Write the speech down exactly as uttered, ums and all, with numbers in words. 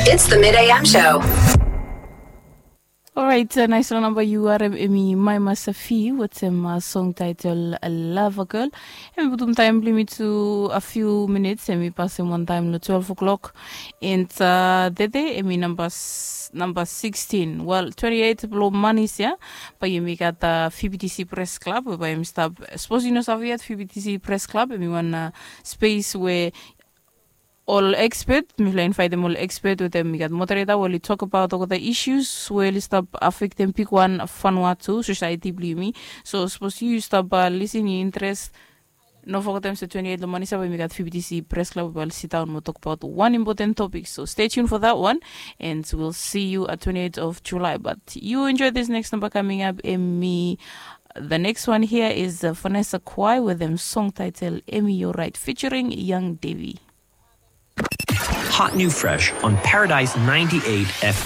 It's the Mid A M Show. Orait, naisfala namba yu harem hemi Maima Safi wetem song taetel Lava Girl. Hemi putum taem blong yumi tu a few minits, hemi pasem wantaem long twelve o'clock. And tede hemi namba sixteen, wel, twenty-eight blong manis ya. Bae yumi gat VBTC Press Club we bae hemi stap. Sapos yu no save yet, VBTC Press Club hemi wan spes we ol expert, mifala i invaetem ol expert wetem i gat moderator we oli tokbaot olgeta issues we oli stap afektem bigwan Vanuatu sosaeti blong yumi. So sapos yu stap lisin, yu interes, no fogetem se twenty-eight long manis ya bae yumi gat VBTC Press Club we bae oli sidaon mo tokbaot wan impoten topik. So stay tuned for that one, and we'll see you at twenty-eight of July. But you enjoy this next number coming up, hemi the next one here is Vanessa Quai with dem song taetel Hemi Yo Raet featuring Young Davy. Hot new fresh on Paradise ninety-eight F M.